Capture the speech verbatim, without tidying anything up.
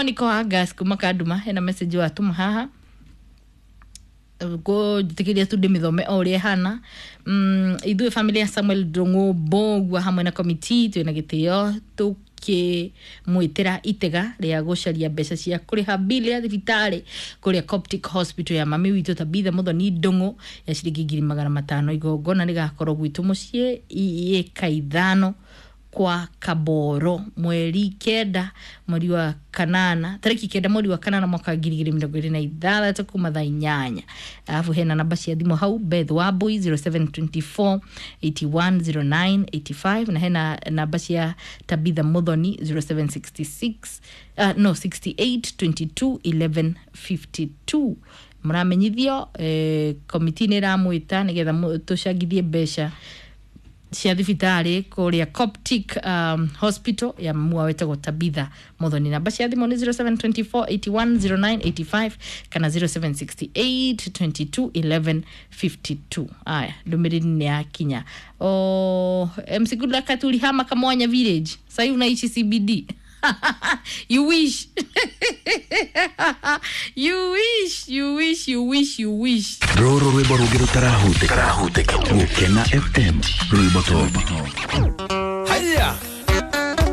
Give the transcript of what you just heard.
Niko Agas kuma Kanduma hena message watuma haha njĩtĩkĩria tu ndĩmĩthome o ũrĩa ĩhana. mm, ithuĩ family ya Samuel Ndung'u Mbũgua hamwe na committee twĩna gĩtĩo tũkĩmwĩtĩra itega rĩa gũcaria mbeca cia kũrĩha bili ya thibitarĩ kũrĩa Coptic Hospital ya mami witũ Tabitha Muthoni Ndung'u ya ciringi ngiri magana matano. Igongona rĩgakorwo gwitũ mũciĩ ĩka ithano kwa Kaboro mweri kenda mweri wa kanana, tariki kenda mweri wa kanana mwaka wa ngiri igĩrĩ mĩrongo ĩrĩ na ithathatũ kuma thaa inyanya. Alafu hena namba cia thimũ hau, Beth Wambui zero seven two four eight one zero nine eight five, na hena namba cia Tabitha Muthoni zero seven six six, uh, no, sixty-eight twenty-two eleven fifty-two. Mũramenyithio eh, komiti nĩ ĩramwĩta nĩgetha tũcangithie mbeca cia thibitarĩ kũrĩa Coptic um, Hospital ya mamua wetagwo Tabitha Muthoni. Namba cia thimũ nĩ zero seven two four eight one zero nine eight five kana zero seven six eight twenty-two eleven fifty-two. Aya, ndũmĩrĩri nĩ yakinya. Oh, M C Goodluck atulihama Kamwanya village, sahii unaishi C B D. You wish, you wish, you wish, you wish, you wish. Rũrũ rwĩmbo rũngĩ rũtarahutĩka. Gũkena F M, rwĩmbo top. Haya.